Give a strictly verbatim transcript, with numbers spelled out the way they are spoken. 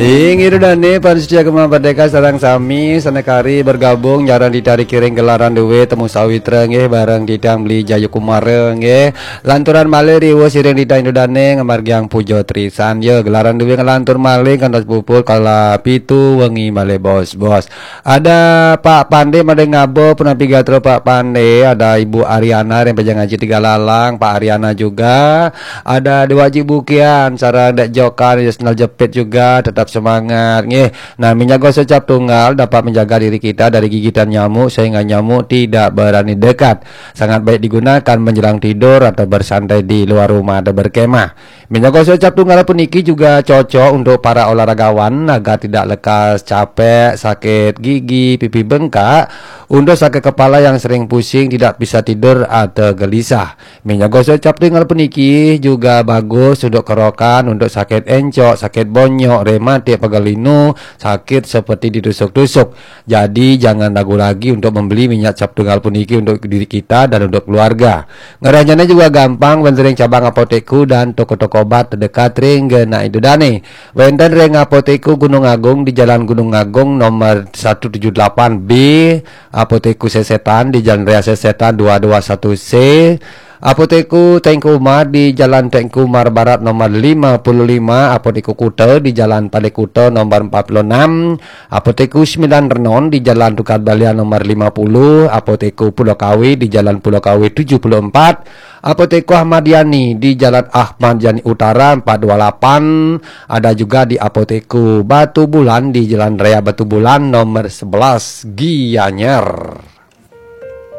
Inggih Ida dane, para setia Gema Merdeka sareng sami, sanakari bergabung sareng titah ring gelaran duwe Temu Sawitra nggih, bareng titah Beli Jayakumara nggih. Lanturang malih riwus sareng titah Ida dane ngamargiang puja trisan. Ya, gelaran duwe nglantur malih kantos puput kala pitu wengi malih bos-bos. Ada Pak Pande made ngaba, punapi gatra Pak Pande, ada Ibu Ariana ring Pejang Aji Tiga Lalang, Pak Ariana juga, ada Dewa Aji Bukian, sareng Dek Jokan, Yusnal Jepit juga, tetap semangat, nggih. Nah, minyak gosok cap tunggal dapat menjaga diri kita dari gigitan nyamuk sehingga nyamuk tidak berani dekat. Sangat baik digunakan menjelang tidur atau bersantai di luar rumah atau berkemah. Minyak gosok cap tunggal puniki juga cocok untuk para olahragawan agar tidak lekas capek, sakit gigi, pipi bengkak, untuk sakit kepala yang sering pusing, tidak bisa tidur atau gelisah. Minyak gosok cap tunggal puniki juga bagus untuk kerokan, untuk sakit encok, sakit bonyok, rematik, pegal linu, sakit seperti ditusuk-tusuk. Jadi jangan ragu lagi untuk membeli minyak cap tunggal puniki untuk diri kita dan untuk keluarga. Ngrahayane juga gampang, wenten ring cabang apotekku dan toko-toko obat terdekat ring genah Ida dane. Wenten ring Apotekku Gunung Agung di Jalan Gunung Agung nomor satu tujuh delapan B, Apotekku Sesetan di Jalan Raya Sesetan dua dua satu C, Apotekku Teuku Umar di Jalan Teuku Umar Barat nomor lima puluh lima, Apotekku Kuta di Jalan Pale Kuta nomor empat puluh enam, Apotekku Sembilan Renon di Jalan Tukad Balian nomor lima puluh, Apotekku Pulau Kawe di Jalan Pulau Kawe tujuh puluh empat, Apotekku Ahmad Yani di Jalan Ahmad Yani Utara empat dua lapan, ada juga di Apotekku Batu Bulan di Jalan Raya Batu Bulan nomor sebelas, Gianyar.